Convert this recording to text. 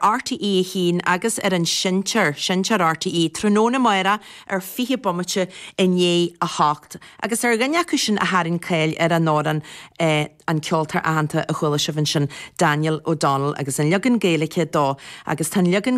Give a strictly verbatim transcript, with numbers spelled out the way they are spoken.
RTÉ a haon agus ar an seinnteoir seinnteoir RTÉ tráthnóna amárach ar fiche bomaite i ndiaidh a hocht. Agus ar dhuine acu sin a tharraing cáil ar an amhrán eh, an ceoltóir aitheanta a chuala sibh ansin Daniel O'Donnell agus an leagan Gaeilge dó agus tá an leagan